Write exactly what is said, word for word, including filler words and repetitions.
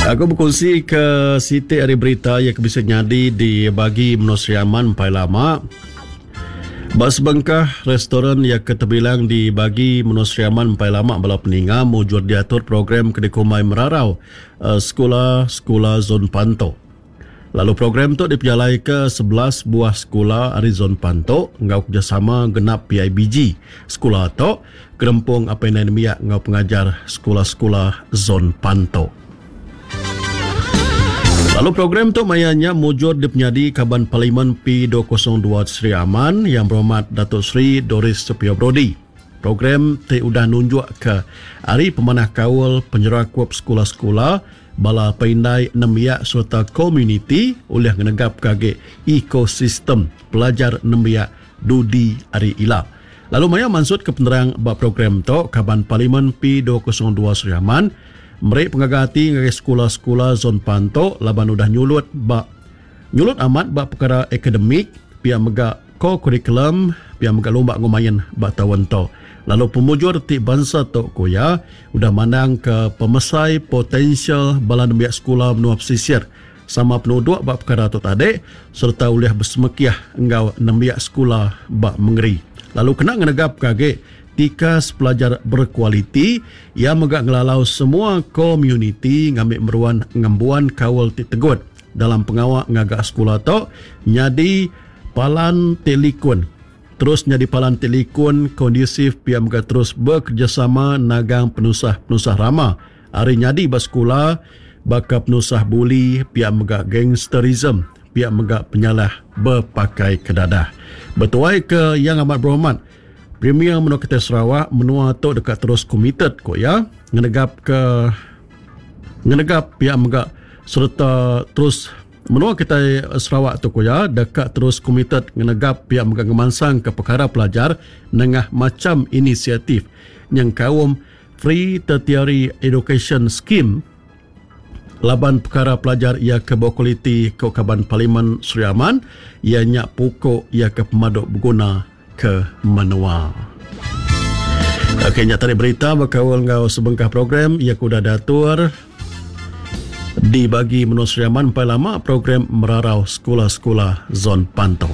Aku berkongsi ke siti hari berita yang bisa nyadi di bagi Menua Sri Aman empai lama. Ba sebengkah restoran yang keterbilang di bagi Menua Sri Aman empai lama bala peninga mujur diatur program Kedekumai Merarau uh, Sekolah-Sekolah Zon Panto. Lalu program tu dipejalai ke sebelas buah sekolah ari Zon Panto enggau kerjasama genap P I B G. Sekolah tu gerempung apa yang nembiak enggau pengajar sekolah-sekolah Zon Panto. Lalu program tu mayanya mujur dipenyadi Kaban Parlimen P dua kosong dua Sri Aman yang berhormat Datuk Seri Doris Sepia Brodi. Program ti udah nunjuk ke hari pemanah kaul penyerakup sekolah-sekolah bala peindai nembiak serta komuniti oleh ngenegap kage ekosistem pelajar nembiak dudi hari ila. Lalu maya mansut ke penerang ba program tu Kaban Parlimen P dua kosong dua Sri Aman meri pengaga hati ngagai sekolah-sekolah Zon Panto laban udah nyulut ba nyulut amat ba perkara akademik pia mega ko-kurikulum pia mega lumba ngumain ba taun tu. Lalu pemujur ti bangsa tu kuya udah mandang ke pemesai potensial bala nembiak sekolah menua pesisir sama penuduk ba perkara tu tadi serta ulih bersemekiah enggau nembiak sekolah ba mengeri. Lalu kena ngenegap kage tikas pelajar berkualiti ia mega ngelalau semua komuniti ngambil meruan ngembuan kaul ti tegut dalam pengawak ngagak sekolah tu nyadi palan telikun. Terus nyadi palan telikun kondusif pia mega terus bekerjasama nagang penusah-penusah rama hari nyadi ba sekolah baka penusah buli pia mega gangsterism pia mega penyalah berpakai kedadah. Bertuai ke yang amat berhormat Premier Menua Kita Sarawak menua tu dekat terus committed ko ya ngenegap ke ngenegap pihak mega serta terus menua kita Sarawak tu ko ya dekat terus committed ngenegap pihak mega ngemansang ke perkara pelajar nengah macam inisiatif yang kaum Free Tertiary Education Scheme laban perkara pelajar ia ke berkualiti ke Kaban Parlimen Sri Aman ia nyak pokok ia ke pemaduk berguna ke menua. Okey, nyata berita berkaul ngau sebengkah program ia kuda datur dibagi Menua Sri Aman empai lama program merarau sekolah-sekolah Zon Panto.